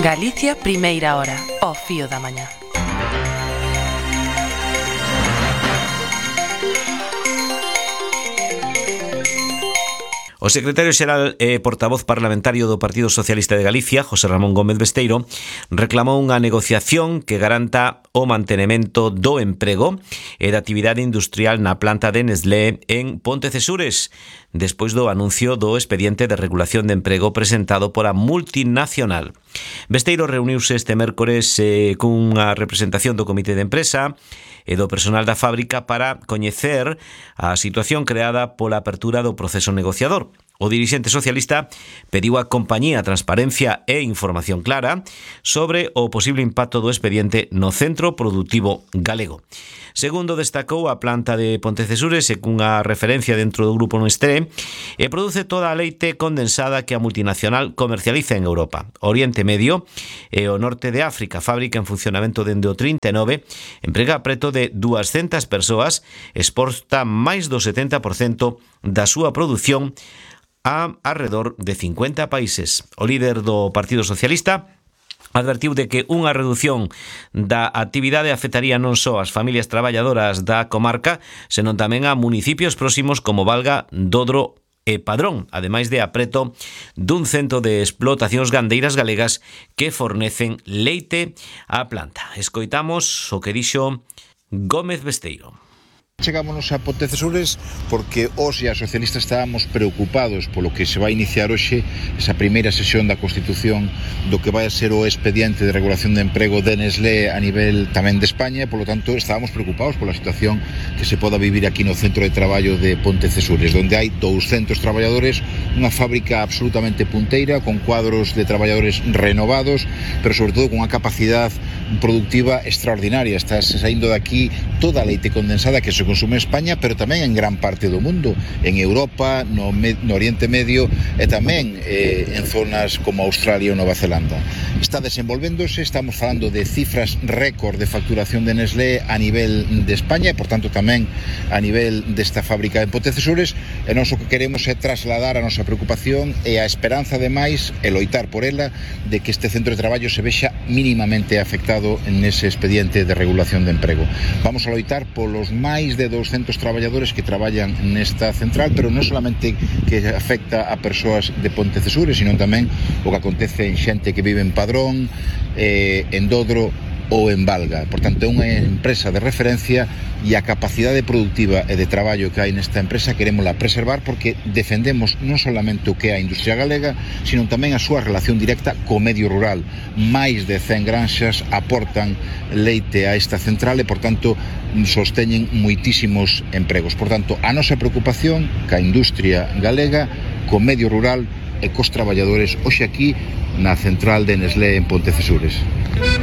Galicia, primeira hora, ao fío da mañá. O secretario xeral e portavoz parlamentario do Partido Socialista de Galicia, José Ramón Gómez Besteiro, reclamou unha negociación que garanta o mantemento do emprego e da actividade industrial na planta de Nestlé en Pontecesures, despois do anuncio do expediente de regulación de emprego presentado por a multinacional. Besteiro reuniuse este mércores cunha representación do comité de empresa e do personal da fábrica para coñecer a situación creada pola apertura do proceso negociador. O dirixente socialista pediu á compañía transparencia e información clara sobre o posible impacto do expediente no centro productivo galego. Segundo destacou, a planta de Pontecesures é cunha referencia dentro do grupo Nestlé e produce toda a leite condensada que a multinacional comercializa en Europa, Oriente Medio e o norte de África. Fábrica en funcionamento dende o 39, emprega preto de 200 persoas, exporta máis do 70% da súa produción a alrededor de 50 países. O líder do Partido Socialista advertiu de que unha reducción da actividade afectaría non só as familias traballadoras da comarca, senón tamén a municipios próximos como Valga, Dodro e Padrón, ademais de apreto dun cento de explotacións gandeiras galegas que fornecen leite á planta. Escoitamos o que dixo Gómez Besteiro. Chegámonos a Pontecesures porque os e as socialistas estábamos preocupados polo que se vai iniciar hoxe esa primeira sesión da Constitución do que vai a ser o expediente de regulación de emprego de Nestlé a nivel tamén de España, e polo tanto estábamos preocupados pola situación que se poda vivir aquí no centro de traballo de Pontecesures, donde hai 200 traballadores, unha fábrica absolutamente punteira, con cuadros de traballadores renovados, pero sobre todo con unha capacidade productiva extraordinaria. Está saindo de aquí toda a leite condensada que se consume en España, pero tamén en gran parte do mundo, en Europa, no Oriente Medio e tamén en zonas como Australia ou Nova Zelanda. Está desenvolvéndose, estamos falando de cifras récord de facturación de Nestlé a nivel de España e, por tanto, tamén a nivel desta fábrica de Pontecesures, e nós o que queremos é trasladar a nosa preocupación e a esperanza, ademais, e loitar por ela, de que este centro de traballo se vexa mínimamente afectado nese expediente de regulación de emprego. Vamos a loitar polos máis de 200 traballadores que traballan nesta central, pero non solamente que afecta a persoas de Pontecesures, sino tamén o que acontece en xente que vive en Padrón, en Dodro ou en Valga. Por tanto, é unha empresa de referencia e a capacidade productiva e de traballo que hai nesta empresa querémola preservar porque defendemos non solamente o que é a industria galega, sino tamén a súa relación directa co medio rural. Máis de 100 granxas aportan leite a esta central e, por tanto, sosteñen moitísimos empregos. Por tanto, a nosa preocupación ca industria galega, co medio rural e cos traballadores hoxe aquí na central de Nestlé en Pontecesures.